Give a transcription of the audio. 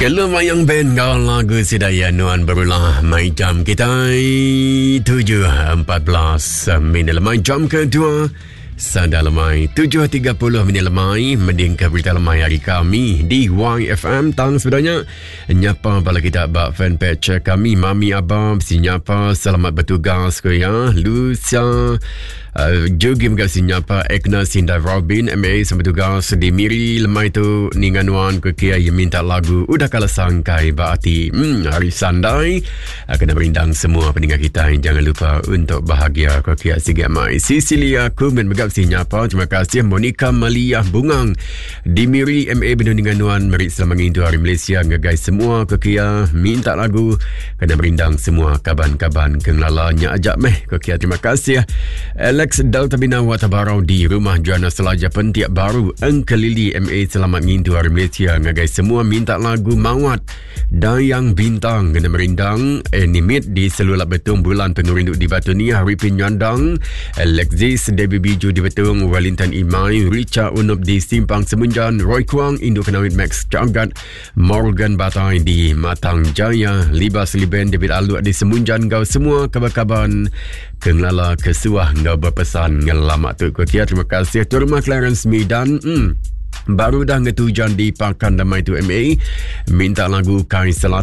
Kelu mayang band enggau lagu sida iya nuan berulah mai jam kitai 7.14 minit lemai jam kedua Sada lemai 7.30 minit lemai mendingka berita lemai hari kami di YFM tang sebenarnya nyapa bala kita ba fanpage kami Mami Abam si nyapa selamat bertugas ke ya Lucia Uh, juga mega si nyapa Ekna Sinda Robin MA sama tugas di Miri lemai tu ninga nuan ke kia ia minta lagu udah kala sangkai ba ati hmm, hari sandai uh, kena merindang semua pendengar kita jangan lupa untuk bahagia ke kia sige mai Cecilia Kumen mega si nyapa terima kasih Monica Malia Bungang di Miri MA benung ninga nuan meri selamat ngintu hari Malaysia ngagai semua ke kia minta lagu Kena merindang semua kaban-kaban ke ngelala nya aja meh. Ko kia terima kasih. Alex Delta Bina Watabarau di Rumah Juana Selaja Pentiak Baru Engkelili MA selamat ngintu hari Malaysia ngagai semua minta lagu Mawat Dayang Bintang kena merindang Animate di Selulap Betung Bulan Pengerindu di Batu Niah Ripin Nyandang Alexis Debbie Biju di Betung Wellington Imai Richa Unup di Simpang Semunjan Roy Kuang Indu Kenawit Max Cagat Morgan Batai di Matang Jaya, Libas Liben David Aluk di Semunjan enggau semua kaban-kaban ke ngelala ke suah enggau berpesan ngelama tu. Ku kia terima kasih tu rumah Clarence Midan. Baru dah ngetujan di Pakan Damai tu MA. Minta lagu Kai Selatan.